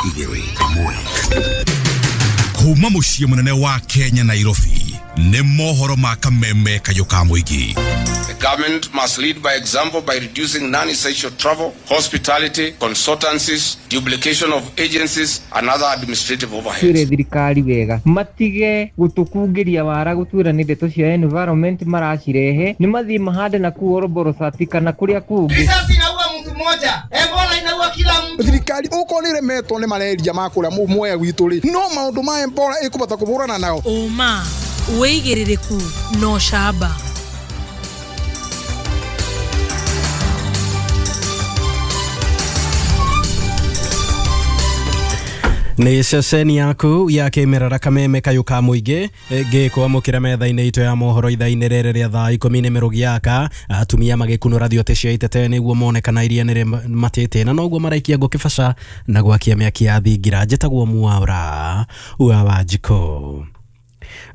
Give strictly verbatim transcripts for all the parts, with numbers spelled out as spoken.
Igĩrĩ ĩmwe. Kuma mũciĩ mũnene wa Kenya Nairobi nĩ mohoro ma kameme kayũ ka mũingĩ. The government must lead by example by reducing non-essential travel, hospitality, consultancies, duplication of agencies and other administrative overheads. Twĩre thirikari wega matige gũtũkungĩria wara gũtwĩra nĩ ndeto cia environment maracirehe, nĩ mathiĩ mahande na kũu Oroborosati kana kũrĩa kũngĩ. Risasi inaua mtu mmoja, Ebola inaua kila mtu. Thirikari uko nĩ remetwo nĩ malaria ma kũrĩa Mwea gwitũ rĩ, no maũndũ ma Ebola ĩkũbata kũhũrana nao. Ũma wĩigĩrĩrĩku no camba. Nĩ ceceni yaku ya kĩmerera kameme kayũ ka mũingĩ ngĩkwamũkĩra metha-inĩ itũ ya mohoro ithaa-inĩ rĩrĩ rĩa thaa ikũmi nĩ mĩrũgi yaka. Atumia magĩkunũra thiote cia itete nĩguo mone kana iria nĩrĩ matĩte na noguo maraikia ngũ kĩbaca na gwakia mĩaki ya thingira. Njĩtagwo Mwaura wa Wanjikũ.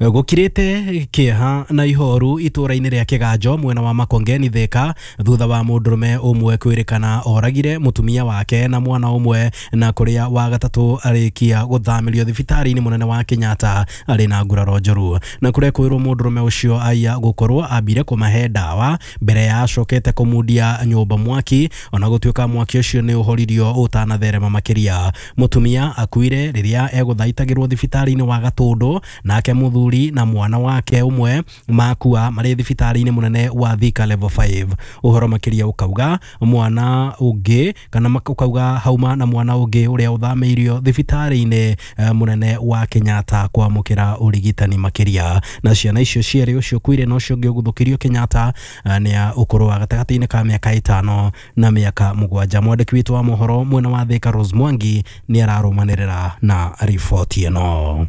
Gũkirĩte kĩeha na ihoru itũra-inĩ rĩa Kĩganjo mwena wa Makongeni Thika thutha wa mũndũrũme ũmwe kwĩrĩkana oragire mũtumia wake na mwana ũmwe na kũrĩa wa gatatũ arĩkia gũthamĩrio thibitarĩ-inĩ mũnene wa Kenyatta arĩ na nguraro njũru. Na kũrĩa kwĩrwo mũndũrũme ũcio aiya gũkorwo ambire kũmahe ndawa mbere ya acokete kũmundia nyũmba mwaki, ona gũtuĩka mwaki ũcio nĩ ũhoririo ũtanatherema makĩria. Mũtumia akuire rĩrĩa egũthaitagĩrwo thibitarĩ-inĩ wa Gatũndũ, nake mũthuri na mwana wake ũmwe makua marĩ thibitarĩ-inĩ mũnene wa Thika level five. Ũhoro makĩria ũkauga mwana ũngĩ kana ũkauga hauma na mwana ũngĩ ũrĩa ũthamĩirio thibitarĩ-inĩ mũnene wa Kenyatta kwamũkĩra ũrigitani makĩria. Na ciana icio cierĩ, ũcio ũkuire na ũcio ũngĩ ũguthũkĩrio Kenyatta, nĩ a ũkũrũ wa gatagatĩ-inĩ ka mĩaka ĩtano na mĩaka mũgwanja. Mwandĩki witũ wa mohoro mwena wa Thika Rose Mwangi nĩ ararũmanĩrĩra na riboti ĩno.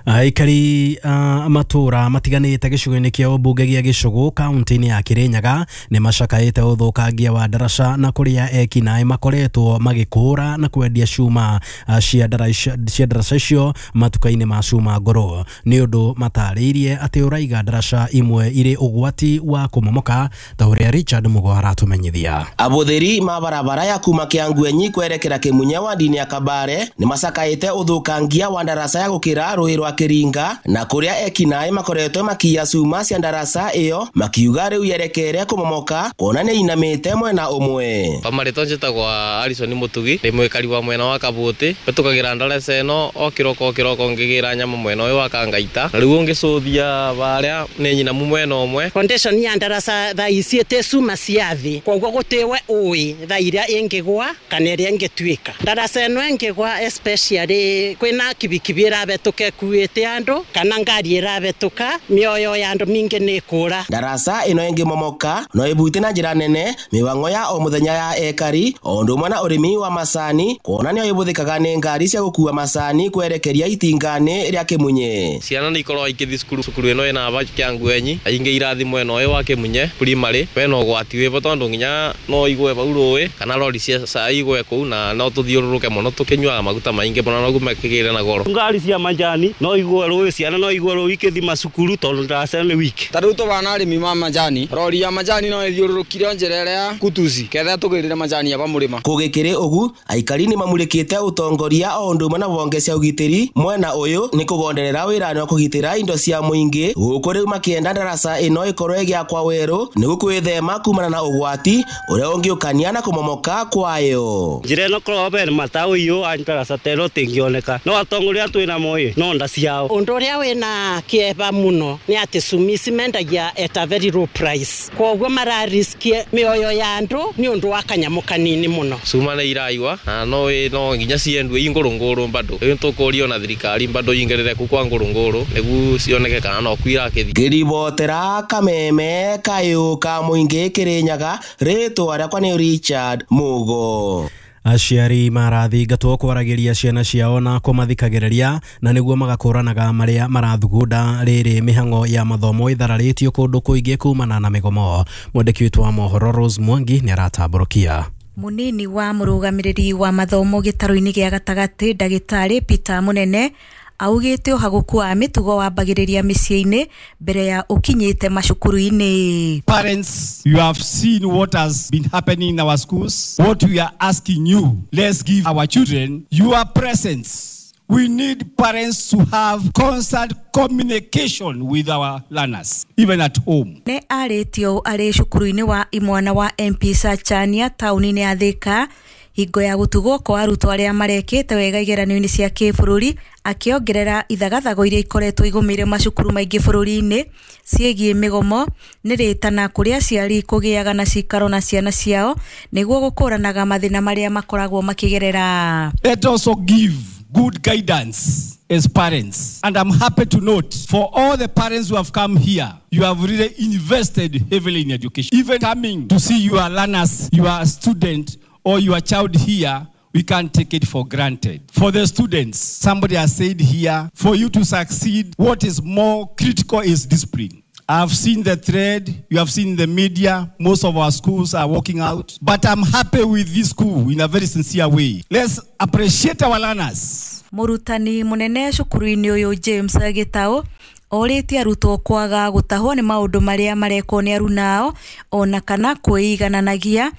Aikari uh, matũra matiganĩte gĩcigo-inĩ kĩa ũmbunge gĩa Gĩcũgũ kaunti-inĩ ya Kĩrĩnyaga nĩ macakaĩte ũthũkangia wa ndaraca na kũrĩa ekinaĩ makoretwo magĩkũra na kwendia cuma uh, cia ndaraca icio matuka-inĩ ma cuma ngũrũ. Nĩ ũndũ matarĩirie atĩ ũraiga ndaraca imwe irĩ ũgwati wa kũmomoka ta ũrĩa Richard Mugo aratũmenyithia. Abũthĩri ma barabara ya kuma Kĩangwenyi kwerekera Kĩmunya wandi-inĩ ya Kabare nĩ macakaĩte ũthũkangia wa ndaraca ya gũkĩra rũĩ rwa Kĩringa na kũrĩa ekinaĩ makoretwo makiya cuma cia ndaraca ĩyo makiuga rĩu yerekere kũmomoka kuona nĩ inamĩte mwena ũmwe. Kwa marĩtwa njĩtagwo Alison Mũtugi, ndĩ mwĩkari wa mwena wa Kabũtĩ, hĩtũkagĩra ndaraca ĩno o kĩroko o kĩroko ngĩgĩra nyama mwena ũyũ wa Kangaita, na rĩu ũngĩcũthia barĩa nĩ nyinamu mwena ũmwe. Foundation ya ndaraca thaa ici ĩtĩ cuma cia thĩ, koguo gũtĩwe ũĩ thaa iria ĩngĩgwa kana ĩrĩa ĩngĩtuĩka. Ndaraca ĩno ĩngĩgwa especially kwĩna kibikibi ĩrabetũka ĩkuĩte andũ kana ngari ĩrabetũka, mĩoyo ya andũ mingĩ nĩ ĩkũra. Ndaraca ĩno ĩngĩmomoka no ĩbute na njĩra nene mĩbango ya o mũthenya ya ekari o ũndũ ũmwe na ũrĩmi wa macani kuona nĩyo ĩbũthĩkaga nĩ ngari cia gũkua macani kwerekeria itinga-inĩ rĩa Kĩmunye. Ciana nĩ ikoragwo ikĩthiĩ cukuru, cukuru ĩno ĩna aba Kĩangwenyi, aingĩ irathi mwena ũyũ wa Kĩmunye primary, bena ũgwati wĩvo tondũ nginya no igwe vau rũĩ kana rori cia cai igwe kũu na no tũthiũrũrũke mũno tũkĩnyuaga maguta maingĩ mũno noguo makĩgĩre na goro. Ngari cia majani no igwe rũĩ, ciana no igwe rũĩ ikĩthi macukuru tondũ ndaraca nĩ wiki. Ta rĩu tũbana arĩmi ma majani, rori ya majani no ĩthiũrũrũkire njĩra ĩrĩa ya kutuci ketha tũgĩrĩre majani aba mũrĩma. Kũgĩkĩrĩ ũgu aikari nĩ mamũrĩkĩte ũtongoria o ũndũ ũmwe na honge cia ũgitĩri mwena ũyũ nĩ kũgonderera wĩra-inĩ wa kũgitĩra indo cia mũingĩ gũkũ rĩu makĩenda ndaraca ĩno ĩkorwo ĩgĩakwa werũ nĩguo kwĩthema kumana na ũgwati ũrĩa ũngĩũkania na kũmomoka kwayo. Njĩra ĩno korwo bene mataũ iyũ a ndaraca ta ĩno ĩtingĩoneka no atongoria twĩna moĩ no nda ciao. Ũndũ ũrĩa wĩna kĩeva mũno nĩ atĩ cumi ici mendagia at a very low price, koguo marariski mĩoyo ya andũ nĩ ũndũ wa kanyamũ kanini mũno. Cuma nĩ iraiwa na no no nginya ciendwe i ngũrũngũrũ bado rĩu tũkũrio na thirikari bado ingĩrĩre kũ kwa ngũrũngũrũ nĩguo cioneke kana no kwirakĩthi. Ngĩribotera kameme kayũ ka mũingĩ Kĩrĩnyaga, rĩtwa rĩakwa nĩ Richard Mugo. Aciari marathingatwo kwaragĩria ciana ciao na kũmathikagĩrĩria na nĩguo magakũranaga marĩa marathugunda rĩrĩ mĩhang'o ya mathomo ĩthararĩtio kũndũ kũingĩ kumana na mĩgomo. Mwandĩki witũ wa mohoro Rose Mwangi nĩ aratambũrũkia. Munini wa mũrũgamĩrĩri wa mathomo gĩtarũ-inĩ gĩa gatagatĩ ndagĩtarĩ Peter Munene Augĩte ũhagũku wa mĩtugo wambagĩrĩria mĩciĩ-inĩ mbere ya ũkinyĩte macukuru-inĩ. Parents, you have seen what has been happening in our schools. What we are asking you, let's give our children your presence. We need parents to have constant communication with our learners, even at home. Nĩ arĩtio arĩ cukuru-inĩ wa imwana wa M P Sachania taũni-inĩ ya Thika hingo ya gũtugwo kwa arutwo arĩa marekĩte wega igeranio-inĩ cia kĩbũrũri, akĩongerera ithagathago iria ikoretwo igũmĩire macukuru maingĩ bũrũri-inĩ ciĩgiĩ mĩgomo nĩ rĩtana kũrĩ aciari kũgĩaga na cikaro na ciana ciao nĩguo gũkũranaga mathĩna marĩa makoragwo makĩgerera. Let also give good guidance as parents. And I'm happy to note for all the parents who have come here, you have really invested heavily in education. Even coming to see your learners, your student or your child here, we can't take it for granted. For the students, somebody has said here, for you to succeed, what is more critical is discipline. I've seen the thread, you have seen the media, most of our schools are walking out. But I'm happy with this school in a very sincere way. Let's appreciate our learners. Mũrutani mũnene cukuru-inĩ ũyũ James Gitau orĩtie arutwo kwaga gũtahwo nĩ maũndũ marĩa marekwo nĩ arunao ona kana kwĩigananagia.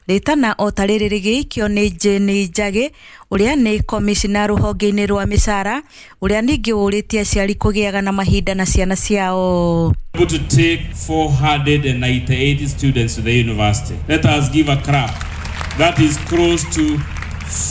Rĩtana o ta rĩrĩ rĩgĩikio nĩ Jane Njagĩ ũrĩa nĩ komishina rũhonge-inĩ rwa mĩcara ũrĩa ningĩ ũrĩtie aciari kũgĩaga na mahinda na ciana ciao. Able to take four hundred ninety-eight students to the university. Let us give a clap. That is close to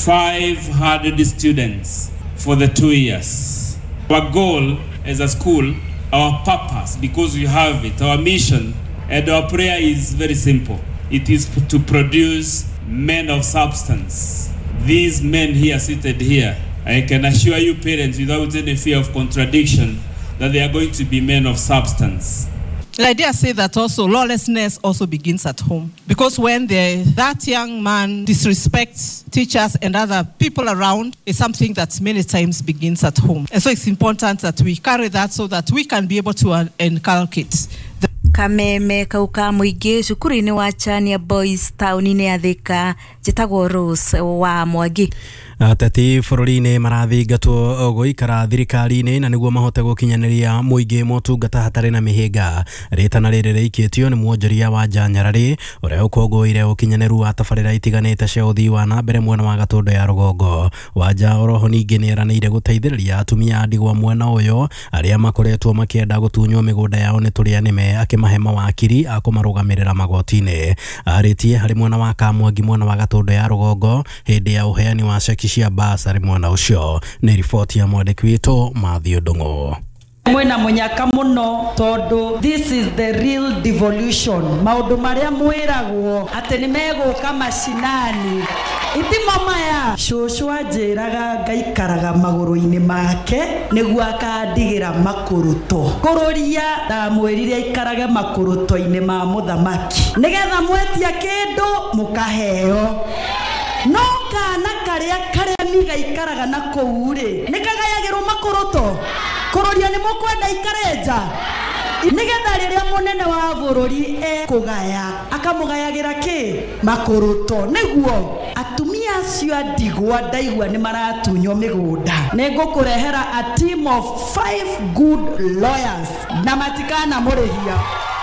five hundred students for the two years. Our goal as a school, our purpose, because we have it, our mission and our prayer is very simple. It is to produce men of substance. These men here seated here, I can assure you parents without any fear of contradiction that they are going to be men of substance. I dare say that also lawlessness also begins at home. Because when the, that young man disrespects teachers and other people around, it's something that many times begins at home. And so it's important that we carry that so that we can be able to uh, inculcate. The Kameme kau ka mũingĩ cukuru-inĩ wa Chania Boys taũni-inĩ ya Thika njĩtagwo Rose wa Mwangi. Ateti bũrũri-inĩ marathingatwo gũikara thirikari-inĩ na nĩguo mahote gũkinyanĩria mũingĩ motungata hatarĩ na mĩhĩnga. Rĩtana rĩrĩ rĩikĩtio nĩ mwonjoria wa Njanyararĩ ũrĩa ũkũngũĩire ũkinyanĩru wa tabarĩra itiganĩte cia ũthii wa na mbere mwena wa Gatũndũ ya rũgongo. Wanja oroho ningĩ nĩeranĩire gũteithĩrĩria atumia a ndigwa mwena ũyũ arĩa makoretwo makĩenda gũtunywo mĩgũnda yao nĩ tũrĩa nĩme, akĩmahe mawakiri a kũmarũgamĩrĩra magoti-inĩ. Arĩtie harĩ mwena wa Kamwangi mwena wa Gatũndũ ya rũgongo hĩndĩ ya ũheani wa ceki cia basarĩ mwena ũcio. Nĩ riboti ya mwandĩki witũ Matthew Ndung'u. Mwena munyaka muno tondu this is the real devolution. Maundu maria mwiragwo ati ni meguka mashinani itimo maya. Cucu anjiraga ngaikaraga maguru-ini make niguo akandigira makuruto kururia ndamwirire aikarage makuruto-ini ma muthamaki nigetha mwetia kindu mukaheo. No kana karia karemi gaikaraga na kuu ri nikagayagirwo makuruto kururia ni mukwenda ikare nja nigetha riria munene wa bururi ekugaya akamugayagira ki makuruto niguo atumia acio a ndigwa ndaigua ni maratunywo migunda. Nĩngũkũrehera a team of five good lawyers na matikana mũrĩhia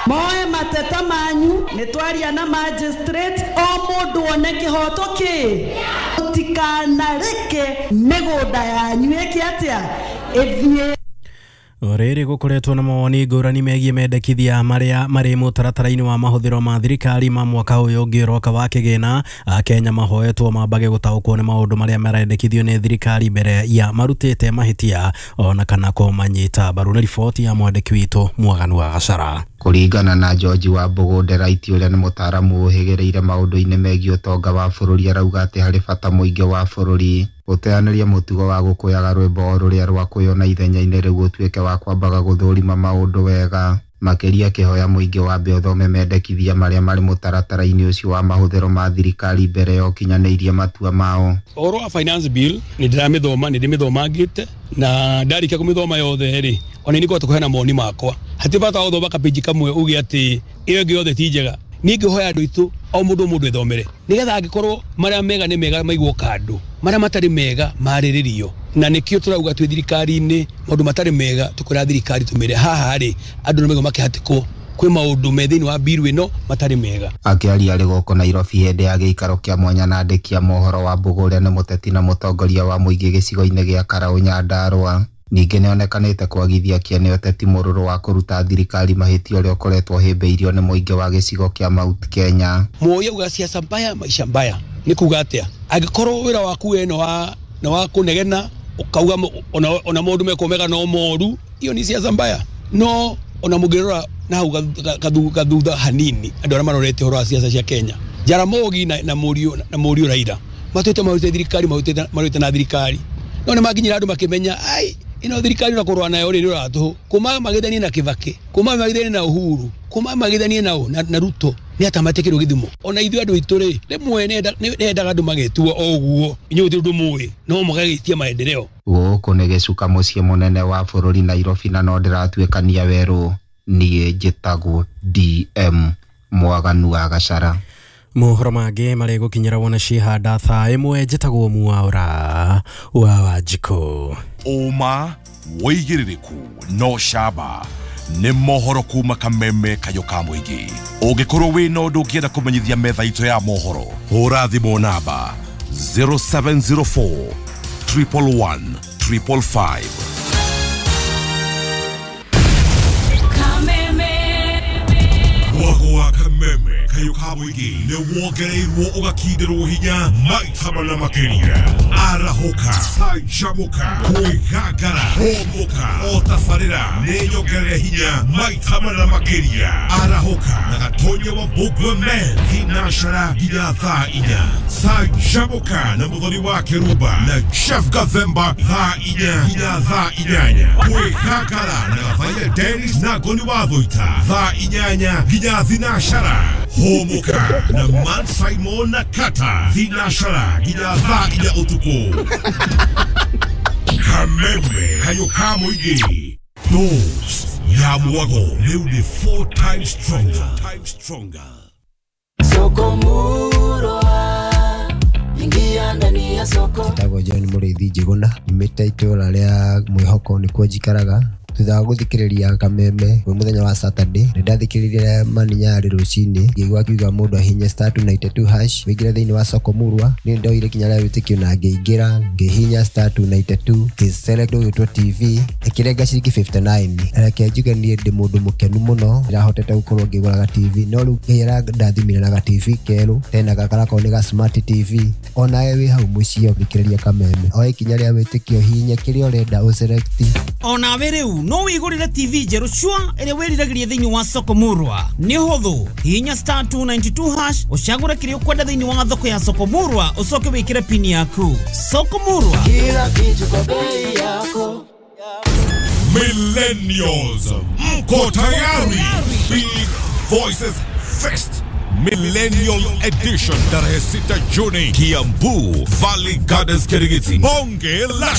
moe mateta manyu nĩ twaria na magistrate o mũndũ one kĩhoto kĩ mũtikanareke mĩgũnda yanyu ĩke atĩa ĩthiĩ. Rĩrĩ gũkoretwo na mawoni ngũrani megiĩ mendekithia marĩa marĩ mũtaratara-inĩ wa mahũthĩro ma thirikari ma mwaka ũyũ ũngĩ ũroka wa kĩgĩna. Akenya mahoetwo mambage gũtaũkwo nĩ maũndũ marĩa marendekithio nĩ thirikari mbere ya marutĩte mahĩtia ona kana kũmanyita mbaru. Nĩ riboti ya mwandĩki witũ Mwaganu wa Gacara. Kũringana na George wa Mbũgũ Nderaiti ũrĩa nĩ mũtaaramu ũhĩgĩrĩire maũndũ-inĩ megiĩ ũtonga wa bũrũri, arauga atĩ harĩ bata mũingĩ wa bũrũri gũteanĩria mũtugo wa gũkũyaga rwĩmbo o rũrĩa rwakũywo na ithenya-inĩ rĩu ũtuĩke wa kwambaga gũthũrima maũndũ wega. Makĩria akĩhoya mũingĩ wambe ũthome mendekithia marĩa marĩ mũtaratara-inĩ ũcio wa mahũthĩro ma thirikari mbere ya ũkinyanĩirie matua mao. Ũhoro wa finance bill nĩ ndĩramĩthoma, nĩ ndĩmĩthomangĩte na ndarĩkia kũmĩthoma yothe rĩ, ona nĩ ngũhota kũheana mawoni makwa. Hatirĩ bata wa gũthoma kapĩnji kamwe uge atĩ ĩyo ĩngĩ yothe ti njega. Niĩ ngĩhoya andũ aitũ o mũndũ o mũndũ ethomere nĩgetha angĩkorwo marĩa mega nĩ mega maigwo kando, marĩa matarĩ mega marĩrĩrio, Na nĩkĩo tũrauga twĩ thirikari-inĩ maũndũ matarĩ mega tũkwĩra thirikari tũmĩre haha rĩ andũ nĩ maigua makĩhatĩkwo kwĩ maũndũ me thĩinĩ wa biru ĩno matarĩ mega. Akĩaria arĩ gũkũ Nairobi hĩndĩ ya gĩikaro kĩa mwanya na andĩki a mohoro wa Mbũgũ ũrĩa nĩ mũteti na mũtongoria wa mũingĩ gĩcigo-inĩ gĩa Karaũ Nyandarũa. Ningĩ nĩonekanĩte kwagithia kĩene ũteti mũrũrũ wa kũruta thirikari mahĩtia ũrĩa ũkoretwo ũhĩmbĩirio nĩ mũingĩ wa gĩcigo kĩa Mount Kenya. Moi auga siasa mbaya maisha mbaya nĩ kuga atĩa? Angĩkorwo wĩra waku we no wa na wa kũnegena ũkauga ona ona maũndũ mekwo mega no moru, iyo ni siasa mbaya. No ona mũngĩrora na hau gathutha hanini andũ arĩa marorete ũhoro wa siasa cia Kenya, Jaramogi na na mũriũ na mũriũ Raila matwĩte marutĩte thirikari marutĩte marutĩte na thirikari no nĩ makinyĩra andũ makĩmenya ai ino thirikari na kũrũa nayo rĩ rũratũhũ kuma magithanie na Kibaki kuma magithanie na Uhuru kuma magithanie na na, na Ruto nĩ atamatikĩrwo gĩthimo. Ona ithuĩ andũ aitũ rĩ rĩmwe nendaga andũ magĩtua o ũguo inyuĩ gũtirĩ ũndũ mũĩ no mũgagĩtia maendeleo. Gũkũ nĩ gĩcuka mũciĩ mũnene wa bũrũri Nairobi na no ndĩratuĩkania werũ. Niĩ njĩtagwo D M Mwaganu wa Gachara. Mohoro mangĩ marĩ gũkinyĩra wona cihanda thaa ĩmwe. Njĩtagwo Mwaura wa Wanjikũ. Ũma wĩigĩrĩrĩku no camba nĩ mohoro kuma Kameme Kayũ ka mũingĩ. Ũngĩkorwo wĩna ũndũ ũngĩenda kũmenyithia metha itũ ya mohoro, hũra thimũ namba zero seven zero four triple one triple five. Mwago wa Kameme Kayũ ka mũingĩ nĩ wongereirwo ũgakindĩrwo hinya maita mana makĩria. Arahũka, canjamũka, kwĩgangara, hũmũka, o tabarĩra nĩ nyongerere hinya maita mana makĩria. Arahũka na Gatonya wa Mbũgua Men thinacara nginya thaa inya. Canjamũka na Mũthoni wa Kĩrumba na Jeff Gathemba thaa inya nginya thaa inyanya. Kwĩgangara na Gathaia Dennis na Ngoni wa Thũita thaa inyanya nginya thinacara. Hũmũka na Man Simon na Kata thinacara nginya thaa inya ũtukũ. Kameme Kayũ ka mũingĩ Dose ya mwago rĩu nĩ four times stronger. Stronger. Soko Murwa, ingia ndani ya soko. Njĩtagwo John Mũrĩithi Njĩgũna, nyumĩte itũũra rĩa Mwĩhoko nĩkuo njikaraga. Thutha wa gũthikĩrĩria Kameme kwĩ mũthenya wa Saturday, nĩ ndathikĩrĩirie Mani Nyarĩ rũcinĩ, ngĩigua akiuga mũndũ ahihinye star two ninety two hash wĩingĩre thĩinĩ wa soko Murwa. Niĩ ndoire ikinya rĩa wĩtĩkio na ngĩingĩra, ngĩhihinya star two ninety two, ngĩ-select ũgĩtwo T V, ĩkĩrenga ciringi fifty nine. Reke njuge niĩ ndĩ mũndũ mũkenu mũno, ndĩrahotete gũkorwo ngĩgũra ga T V, no rĩu Ngai arandathimire na ga T V kerũ, tena gaka garakorwo nĩ ga smart T V. Onawe wĩ hau mũciĩ ũthikĩrĩria Kameme, oe ikinya rĩa wĩtĩkio, hihinya kĩrĩa ũrenda ũselect. Onawe rĩu no wĩgũrĩre T V njerũ cua ĩrĩa wĩriragĩria thĩinĩ wa soko Murwa. Nĩ ũhũthũ, hihinya star two ninety two hash ũcagũre kĩrĩa ũkwenda thĩinĩ wa thoko ya soko Murwa, ũcoke wĩkĩre pini yaku. Soko Murwa, kila kitu kwa bei yako. Millennials, mko tayari? Big Voices Fest Millennial Edition tarehe sita Juni, Kiambu Valley Gardens, Kirigiti. Bonge la